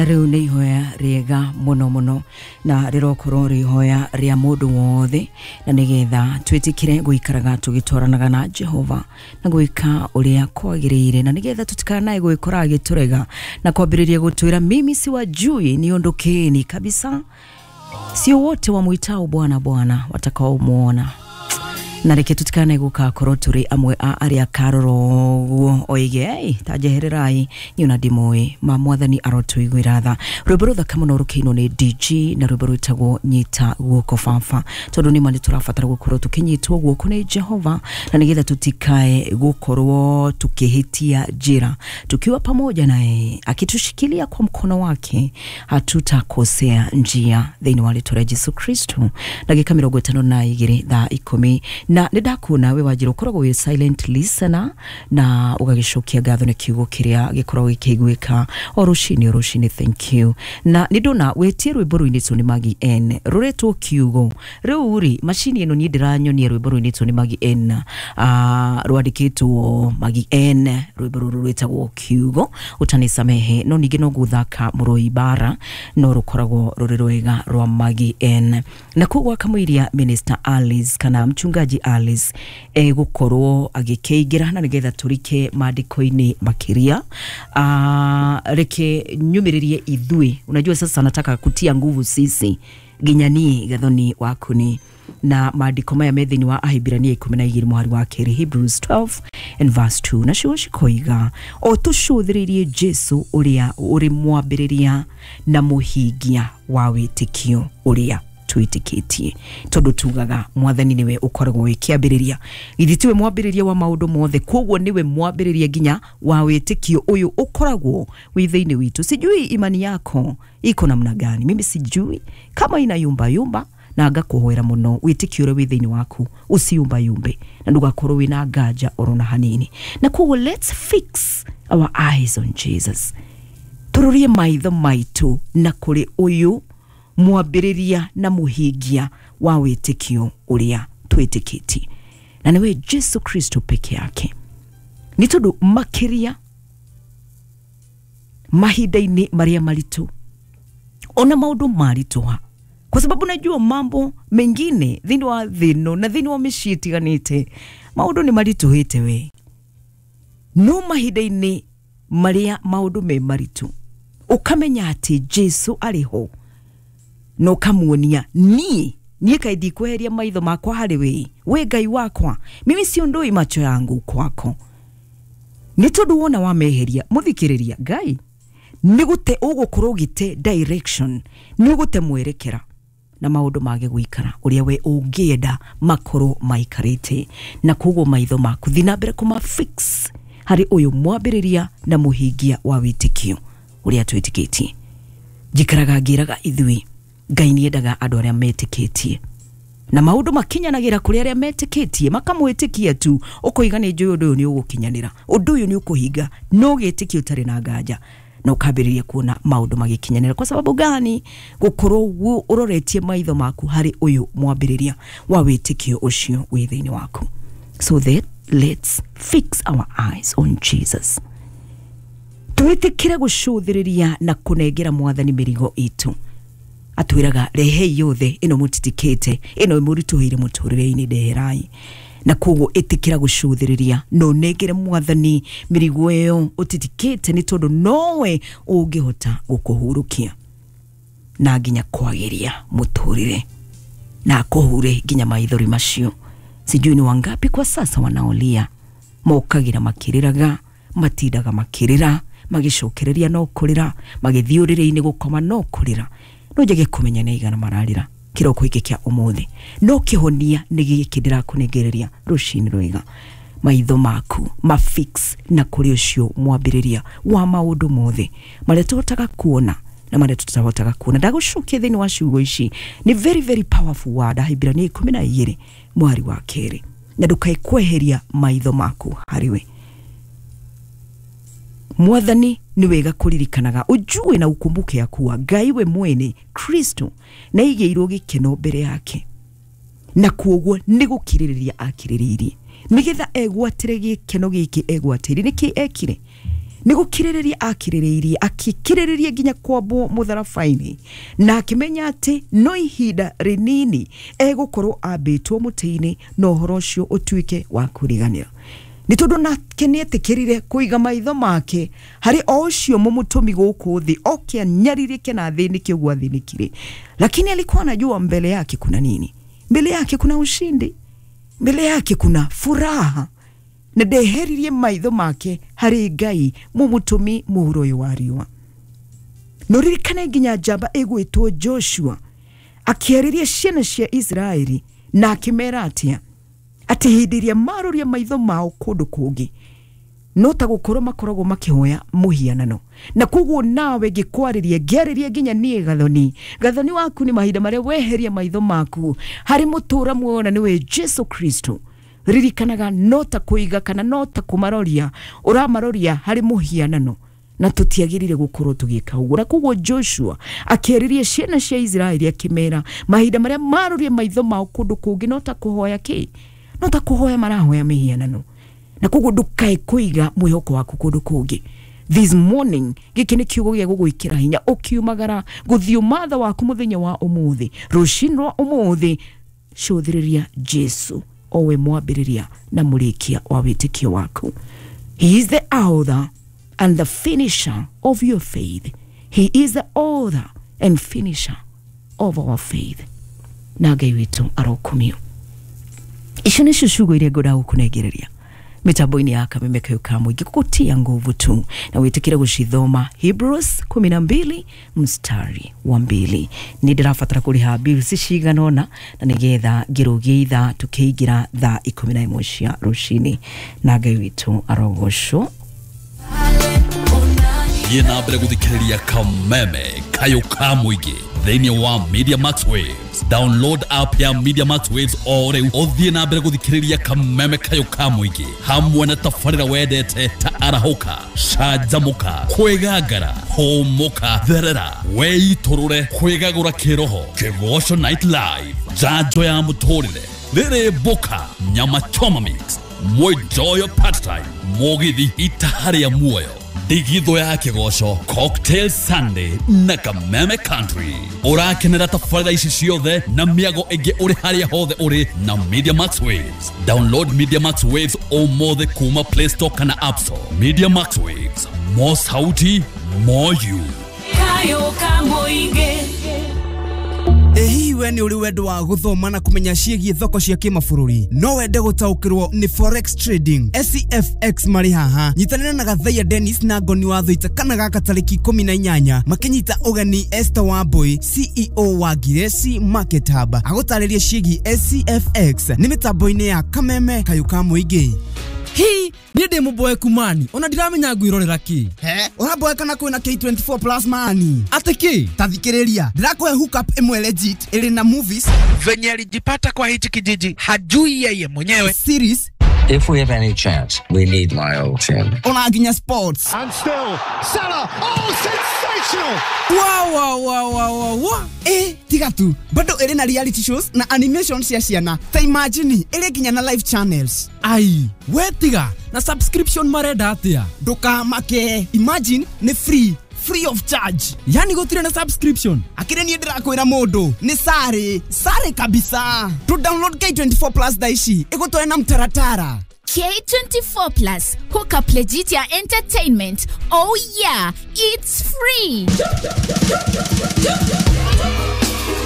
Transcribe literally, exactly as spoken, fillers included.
Rĩu nĩ ihoya rĩega mũno mũno na rĩrokorwo rĩ ihoya rĩa mũndũ wothe, na nĩgetha twĩtĩkĩre gũikaraga tũgĩtwaranaga na Jehova na gwĩka ũrĩa kwagĩrĩire, na nĩgetha tũtikanae gwĩkora agĩtũrega na kwambĩrĩria gũtwĩra mimi siwajui, niondokeni kabisa. Sio wote wamwitao Bwana Bwana watakaomuona. Na reke tutikanae gũgakorwo tũrĩ amwe a arĩa karora ũguo oige ei ta njehererai niĩ ona ndimũĩ ma mwathani arotũiguĩra tha. Rwĩmbo rũthaka mũno rũkĩinwo nĩ D G na rwĩmbo rwĩtagwo Nyita Guoko Baba, tondũ nĩma nĩtũrabatara gũkorwo tũkĩnyitwo guoko nĩ Jehova, na nĩgetha tutikae gũkorwo tukĩhĩtia njĩra. Tukiwa pamoja naye akitushikilia kwa mkono wake hatutakosea njia thĩinĩ wa rĩtwa rĩa Jesu Kristo. Ndagĩka mĩrongo ĩtano na igĩrĩ thaa ikũmi na nĩ ndakuona wĩ wanjĩra ũkoragwo wĩ silent listener na ũgagĩcokia ngatho nĩ kiugo kĩrĩa gĩkoragwo gĩkĩiguĩka o rũcinĩ o rũcinĩ. Thank you. Na nĩ ndona wĩtie rwĩmbo rũinĩtwo nĩ Maggie N rũretwo kiugo. Rĩu rĩ macini ĩno niĩ ndĩranyonia rwĩmbo rũinĩtwo nĩ Maggie N, ah, rwandĩkĩtwo Maggie N, rwĩmbo rũrũ rwĩtagwo kiugo ũtanisamehe, no ningĩ no gũthaka mũrũi bara no rũkoragwo rũrĩ rwega rwa Maggie N. Na koguo akamũiria Minister Alice kana mchungaji Alice egũkorwo agĩkĩingĩra na nĩgetha tũrike maandĩko-inĩ makĩria. Ah, reke nyumĩrĩrie ithuĩ. Unajua sasa nataka kutia nguvu sisi nginya niĩ Gathoni waku ni na maandĩko maya me thĩinĩ wa Ahibirania ikũmi na igĩrĩ mũhari wa kerĩ, Hebrews twelve and verse two, nacio cikoiga o tũcũthĩrĩrie Jesu ũrĩa ũrĩ mwambĩrĩria na mũhingia wa wĩtĩkio ũrĩa twĩtĩkĩtie. Tondũ tugaga mwathani nĩwe ũkoragwo wĩ kĩambĩrĩria, githĩ tiwe mwambĩrĩria wa maũndũ mothe? Koguo nĩwe mwambĩrĩria nginya wa wĩtĩkio ũyũ ũkoragwo wĩ thĩinĩ witũ. Sijui imani yako iko namna gani, mimi sijui kama ina yumba yumba, na ngakũhoera mũno wĩtĩkio ũrĩa wĩ thĩinĩ waku ũciumba yumbe na ndũgakorwo wĩna nganja oro na hanini. Na koguo let's fix our eyes on Jesus, tũrorie maitho maitũ na kũrĩ ũyũ mwambĩrĩria na mũhingia wa wĩtĩkio ũrĩa twĩtĩkĩtie, na nĩwe Jesu Kristo peke yake. Nĩ tondũ makĩria mahinda-inĩ marĩa maritũ ona maũndũ maritũha, kwa sababu najua mambo mengine thĩinĩ wa thĩ ĩno na thĩinĩ wa mĩciĩ ĩtiganĩte maũndũ nĩ maritũhĩte we, no mahinda-inĩ marĩa maũndũ me maritũ ũkamenya atĩ Jesu arĩ ho na ũkamuonia niĩ niĩ kaĩ ndikweheria maitho makwa harĩ we, we Ngai wakwa, mimi siondoi macho yangu kwako. Nĩ tondũ wona wameheria, mũthikĩrĩria Ngai nĩ gũte ũgũkorwo ũgĩte direction, nĩ ũgũte mwerekera na maũndũ mage gũikara ũrĩa we ũngĩenda makorwo maikarĩte. Na koguo maitho maku thiĩ na mbere kũma fix harĩ ũyũ mwambĩrĩria na mũhingia wa wĩtĩkio ũrĩa twĩtĩkĩtie. Njikaraga ngĩraga ithuĩ Ngai nĩendaga andũ arĩa metĩkĩtie, na maũndũ makinyanagĩra kũrĩ arĩa metĩkĩtie, makamwĩtĩkia tu, ũkoiga nĩ njũĩ ũndũ ũyũ nĩ ũgũkinyanĩra, ũndũ ũyũ nĩ ũkũhinga, no gĩtĩkio ũtarĩ na nganja, na ũkambĩrĩria kuona maũndũ magĩkinyanĩra. Kwa sababu gani? Gũkorwo ũroretie maitho maku harĩ ũyũ mwambĩrĩria wa wĩtĩkio ũcio wĩ thĩinĩ waku. So that let's fix our eyes on Jesus, twĩtĩkĩre gũcũthĩrĩria na kũnengera mwathani mĩrigo itũ. Atwĩraga rehei yothe ĩno mũtitikĩte, ĩno mũritũhĩire mũtũrĩre-inĩ, ndeherai. Na koguo ĩtĩkĩra gũcũthĩrĩria na ũnengere mwathani mĩrigo ĩyo ũtitikĩte, nĩ tondũ nowe ũngĩhota gũkũhurũkia na nginya kwagĩria mũtũrĩre na akũhure nginya maithori macio. Sijui ni wangapi kwa sasa wanaolia, mokagĩra makĩrĩraga, matindaga makĩrĩra, magĩcokereria no kũrĩra, magĩthiĩ ũrĩrĩ-inĩ gũkoma no kũrĩra. No njage kũmenya nĩ aigana mararĩra kĩroko gĩkĩ kĩa ũmũthĩ, no kĩhonia nĩ gĩkĩ ndĩrakũnengereria rũcinĩ rwega. Maitho maku ma fix na kũrĩ ũcio mwambĩrĩria wa maũndũ mothe marĩa tũhotaga kuona na marĩa tũtahotaga kuona. Ndagũcokia thĩinĩ wa ciugo ici, nĩ very very powerful word, Ahibirania ikũmi na igĩrĩ mwari wa kerĩ, na ndũkae kweheria maitho maku harĩ we. Mwathani nĩ wega kũririkanaga, ũjue na ukumbuke ya kuwa Ngai we mwene Kristo na aigĩirwo gĩkeno mbere yake, na koguo nĩ gũkirĩrĩria akirĩrĩirie nĩgetha egwatĩre gĩkeno gĩkĩ egwatĩire. Nĩkĩ ekire? Nĩ gũkirĩrĩria akirĩrĩirie, akĩkirĩrĩria nginya kwambwo mũtharaba-inĩ, na akĩmenya atĩ no ihinda rĩnini egũkorwo ambĩtwo mũtĩ-inĩ na ũhoro ũcio ũtuĩke wa kũriganĩra. Nĩ tondũ nake nĩetĩkĩrire kũiga maitho make harĩ o ũcio mũmũtũmi gũkũ thĩ oke anyarirĩke na athĩnĩke ũguo athĩnĩkire. Lakini alikuwa anajua mbele yake kuna nini. Mbele yake kuna ushindi, mbele yake kuna furaha. Na ndeheririe maitho make harĩ Ngai mũmũtũmi mũhuro ũyũ wa riũa. No ririkane nginya njamba ĩgwĩtwo Joshua akĩarĩria ciana cia Isiraeli na akĩmera atĩa, atĩ hĩndĩ ĩrĩa maroria maitho mao kũndũ kũngĩ no ta gũkorwo makoragwo makĩhoya mũhianano. Na koguo nawe ngĩkwarĩria, ngĩarĩria nginya niĩ Gathoni, Gathoni waku nĩ mahinda marĩa weheria maitho maku harĩ mũtũra muoyo na nĩwe Jesu Kristo. Ririkanaga no ta kũiga kana no ta kũmaroria ũramaroria harĩ mũhianano, na tũtiagĩrĩire gũkorwo tũgĩka ũguo. Na koguo Joshua akĩarĩria ciana cia Isiraeli akĩmera mahinda marĩa maroria maitho mao kũndũ kũngĩ no ta kũhoya kĩ, no ta kũhoya marahoya mĩhianano. Na koguo ndũkae kũiga mwĩhoko waku kũndũ kũngĩ. This morning gĩkĩ nĩ kiugo gĩa gũgwĩkĩra hinya ũkiumagara gũthiĩ ũmatha waku mũthenya wa ũmũthĩ, rũcinĩ rwa ũmũthĩ, cũthĩrĩria Jesu owe mwambĩrĩria na mũrĩkia wa wĩtĩkio waku. He is the author and the finisher of your faith. He is the author and finisher of our faith. Na Ngai witũ arokumio. Icio nĩcio ciugo iria ngwenda gũkũnengereria mitambo-inĩ ya Kameme Kayũ ka Mũingĩ gũgũtia nguvu tu, na wĩtĩkĩre gũcithoma Hebrews kumi na mbili mstari wa mbili. Nĩ ndĩrabatara kũrĩha bills cigana ũna na nĩgetha ngĩrũgie ithaa tũkĩingĩra thaa ikũmi na ĩmwe cia rũcinĩ. Na Ngai witũ arogocwo. Thiĩ na mbere gũthikĩrĩria Kameme Kayũ ka Mũingĩ thĩinĩ wa Media Max Waves. Download app ya Media Max Waves o rĩu ũthiĩ na mbere gũthikĩrĩria Kameme Kayũ ka Mũingĩ hamwe na tabarĩra wendete ta arahũka, canjamũka, kwĩgangara, hũmũka, therera, weitũrũre, kwĩgagũra kĩroho, Kĩgoco Night Live, njanjo ya mũtũrĩre, rĩrĩ mboka, nyama choma mix, mwenjoyo part time, mũgithi itaha rĩa muoyo, ndigithũ ya kĩgoco, Cocktail Sunday na Kameme Country. Ũrakenera tabarĩra ici ciothe na mĩago ĩngĩ ũrĩ harĩa hothe ũrĩ na Media Max Waves. Download Media Max Waves ũmũthĩ kuma Play Store kana App Store. Media Max Waves, more sauti, more you. Kayũ ka Mũingĩ. Ĩ hihi we nĩ ũrĩ wendo wa gũthoma na kũmenya ciĩgiĩ thoko cia kĩmabũrũri? No wende gũtaũkĩrwo nĩ forex trading, S C F X marĩ haha. Nyitanĩra na Gathaiya Dennis na Ngoni wa Thũita kana gaka tarĩki ikũmi na inyanya makĩnyita ũgeni Esther Wambui, C E O wa Ngireci Market Hub, agũtarĩrie ciĩgiĩ S C F X nĩ mĩtambo-inĩ ya Kameme Kayũ ka Mũingĩ. Hi, niĩ ndĩ mũboeku mani, ona ndiramenya ngwĩrorera kĩ. He, ũraboeka na kwĩna K twenty-four plus mani. Atĩ kĩ? Ta thikĩrĩria, ndĩrakũhe hookup ĩmwe legit ĩrĩ na movies. Venye alijipata kwa hichi kijiji hajui yeye mwenyewe. Series. If we have any chance, we need Lyle Tim. Ona nginya sports. And still, Salah, oh, sensational! Wow, wow, wow, wow, wow, wow. Eh, tiga tu, bado ĩrĩ na reality shows na animation cia ciana. Ta imagine, ĩrĩ nginya na live channels. Ai, we tiga, na subscription marenda atĩa? Ndũkamake, imagine nĩ free. Free of charge. Yani gũtirĩ na subscription. Akĩrĩ niĩ ndĩrakwĩra mũndũ nĩ sare, sare kabisa. To download K twenty-four plus thaa ici ĩgũtware na mtaratara. K twenty-four plus, hook up legit ya entertainment. Oh yeah, it's free.